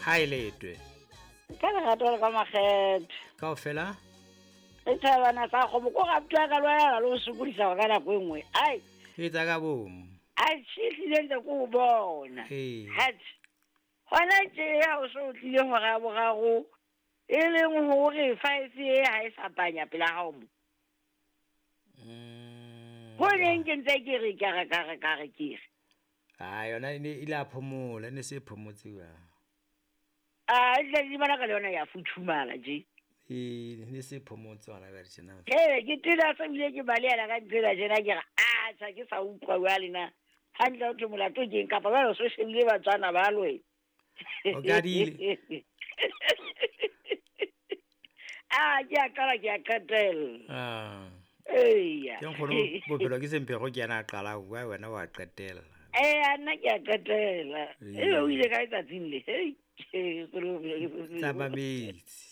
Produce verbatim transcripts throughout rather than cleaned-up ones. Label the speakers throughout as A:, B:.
A: Ha e letwe.
B: Ka lerato le ka makgethe.
A: Kaofela?
B: Re thabana sa kgomo ko raptwa ka lwana le ho sokodisa ka nako e nngwe. Ai.
A: E tsa ka bomo.
B: Ai hlile ntse ko o bona.
A: Ee.
B: Hat. Hona tje ha o so tlile hora boraro e leng hore five e ha e sa panya pela hao mo.
A: Mm.
B: Ho neng ke ntse ke re ka re ka re ka re ke re.
A: Ah, yona e ne ile a phomola, e ne se phomotse wa.
B: Ah, e tla di bona ka le yona ya futhumala je.
A: E ne se phomotse hona jwale tjena.
B: Ee, ke tena se bile ke balehela ka ntsela tjena ke re a tjha ke sa utlwa jwale na. Hantle ho thwe molato ke eng kapa jwale o so shebile Batswana ba lwe.
A: O kadile.
B: Ah, ke a qala ke a qetella.
A: Ah.
B: Eya.
A: Ke nkgono bophelo ke sempego ke yena a qala ho bua wena wa qetella.
B: Eh, nna ke a qetella.
A: Ee.
B: Ebe o ile kae tsatsing le? Hei, nkgono bophelo ke sempego.
A: Tsa metsi.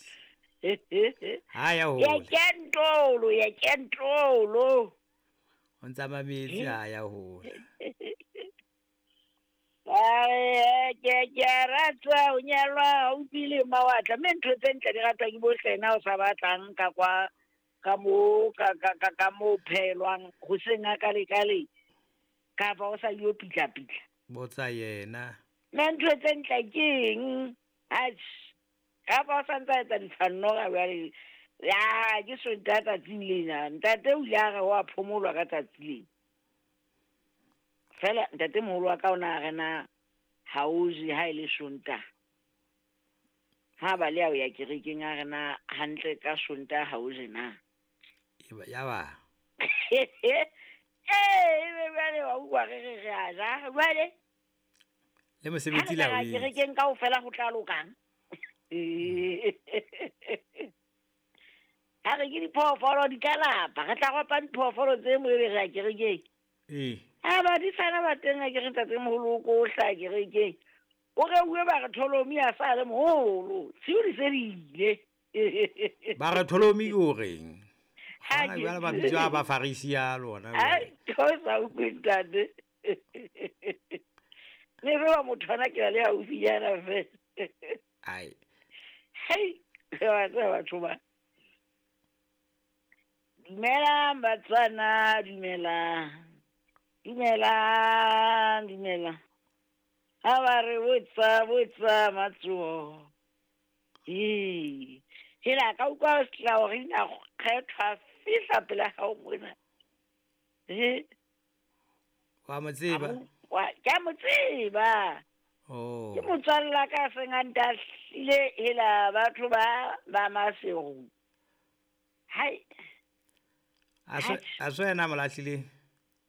A: Ha ya
B: Ya
A: hole.
B: kentolo, ya kentolo.
A: O ntsa metsi ha ya hole.
B: Ai, ke ke a rata ho nyalwa haufi le mawatla. Mme ntho tse ntle di ratwa ke bohle na o sa batlang ka kwa ka mo ka ka ka ka mo phelwang hoseng a ka le ka le kapa o sa yo pitla pitla.
A: Botsa yena.
B: Mme ntho tse ntle ke eng? Atjhe. Kapa o sa ntsa etsa ditshwanno ka jwale. Ya, ke Sontaha tsatsing lena. Ntate o ile a re wa phomolwa ka tsatsi lena. Fela ntate moholo wa ka o na re na ha o je ha e le Sontaha. Ha ba le ya ho ya kerekeng a re na hantle ka Sontaha ha o je na.
A: Eba ya ba.
B: Eh, ebe jwale wa utlwa re re re a ja. Jwale
A: Le
B: ha
A: mosebetsi
B: re
A: la
B: ka
A: o
B: ya
A: etsa.
B: kerekeng kaofela ho tla lokang. Ha re ke diphoofolo di ka lapa, re tla ropa diphoofolo tse mo ebe re ya kerekeng.
A: Ee.
B: Ha badisana ba teng a ke re ntate moholo o ko hla kerekeng. O reuwe ba re Tholomi a sa le moholo. Tshiu di se di ile.
A: Ba re Tholomi ke o reng?
B: Ha
A: Hona
B: ke
A: jwale ba bitswa ba Farisi ya lona
B: Ai,
A: jwale.
B: o sa utlwe ntate. Ne re wa motho ana ke le haufinyana fela.
A: Ai.
B: Hei, wa tseba batho ba. Dumelang Batswana, dumelang. Dumelang, dumelang. Ha ba re botsa, botsa matsoho. Ee, hela ka utlwa setlao re ina kgethwa fihla pela hao mona. Eh,
A: Wa mo
B: a
A: tseba?
B: mo utlwa, ke a mo tseba.
A: Oh.
B: Ke motswalle wa ka a seng a ntahlile hela batho ba ba Maseru. Hai,
A: A so
B: atjhe.
A: a so yena a mo lahlileng?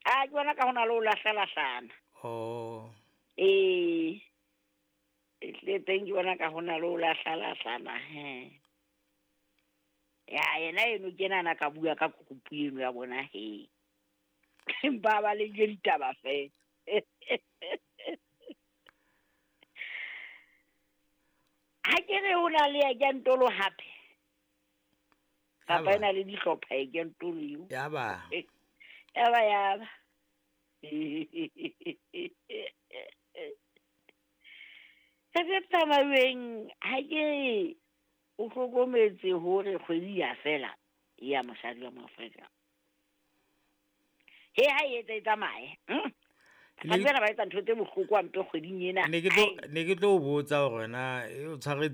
B: A ke bona ka hona le ho lahlalahlana.
A: Oh.
B: Ee, ehlile teng ke bona ka hona le ho lahlalahlana he. Ya yena eno ke ena a ka bua ka kokopu eno ya bona he. Empa ba le je ditaba fela. Ha ke re ho na le ya kentolo hape.
A: Ya
B: Kapa
A: ba.
B: ena le dihlopha e kentolo eo.
A: Ya ba.
B: Ya ba ya ba. Re se tsamayeng ha ke o hlokometse hore kgwedi ya fela ya mosadi wa Moafrika. He ha e etsa e tsamaye. Hmm?
A: Ne
B: Basadi bana ba etsa ntho tse bohloko hampe kgweding ena.
A: ne ke tlo
B: Ai.
A: ne ke tlo o botsa hore na e o tshwaretse